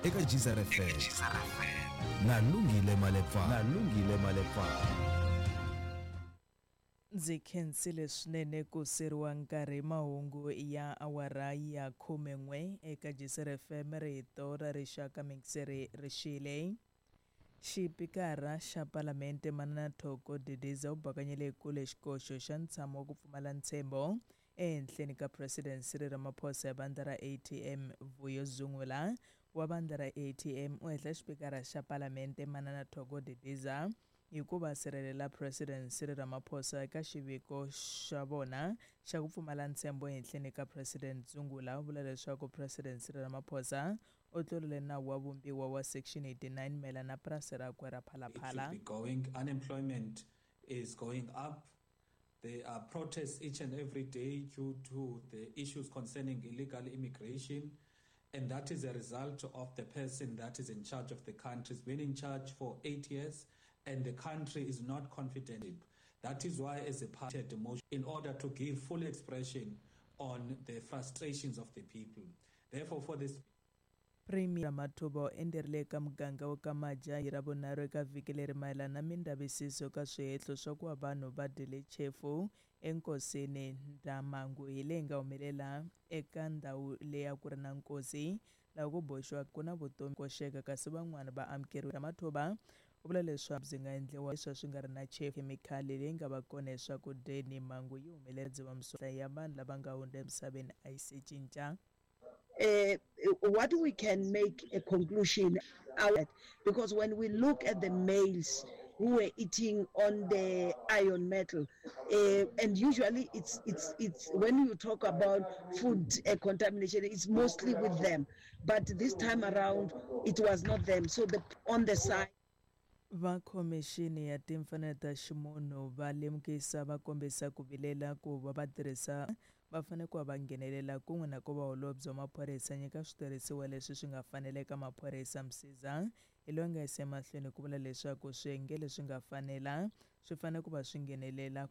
Eka Geyser FM na Lungile Malepa na Lungile Malepa. Ndzi khensile swinene ku siriwa nkarhi mahungu ya awara ya 11 eka Geyser FM rito ra rixaka mixeri rixile. Xipikara xa Palamente Manana Thoko Didiza u bakanyele kule xikoxo xa ntshamo wa ku pfumala ntshembo ehenhleni ka President Cyril Ramaphosa ya vandla ra ATM. Vuyo Zungula wa vandla ra ATM u hehla xipikara xa Palamente Manana Thoko Didiza hi ku va sirhelela President Cyril Ramaphosa eka xiviko xa vona xa ku pfumala ntshembo ehenhleni ka President Zungula. U vula leswaku President Cyril Ramaphosa u tlurile nawu wa vumbiwa wa Section 89 mayelana na purasi rakwe ra Phalaphala. It should be going. Unemployment is going up. There are protests each and every day due to the issues concerning illegal immigration. And that is a result of the person that is in charge of the country. He's been in charge for 8 years, and the country is not confident. That is why, as a party, the motion, in order to give full expression on the frustrations of the people. Therefore, for this Premier Ramathuba u endzerile eka muganga wa ka Maja hi Ravunharhu eka vhiki leri mayelana na mindavisiso ka swihehlo swa ku va vanhu va dyile chefu enkosini. Ndhamangu hi leyi nga humelela eka ndhawu leyi a ku ri na nkosi laha ku boxiwa ku na vutomi koxeka kasi van'wana va amukeriwe. Ramathuba u vula leswaku byi nga endliwa leswi swi nga ri na chefu khemikhali leyi nga va kona eswakudyeni. Mhangu yi humelela Dzivamisoko ya vanhu lava nga hundza emisaveni a yi se cinca. What we can make a conclusion out, because when we look at the males who were eating on the iron metal, and usually it's when you talk about food contamination, it's mostly with them, but this time around it was not them. So the on the side. Va Khomixini ya Timfanelo ta Ximunhu va lemukisa va kombisa ku vilela ku va vatirhisa va fanele ku va va nghenelela kun'we na ku va holobye wa maphorisa nyika switirhisiwa leswi swi nga fanela eka maphorisa. Msiza hi loyi a nga yisa emahlweni ku vula leswaku swiyenge leswi nga fanela swi fanele ku va swi nghenelela ku.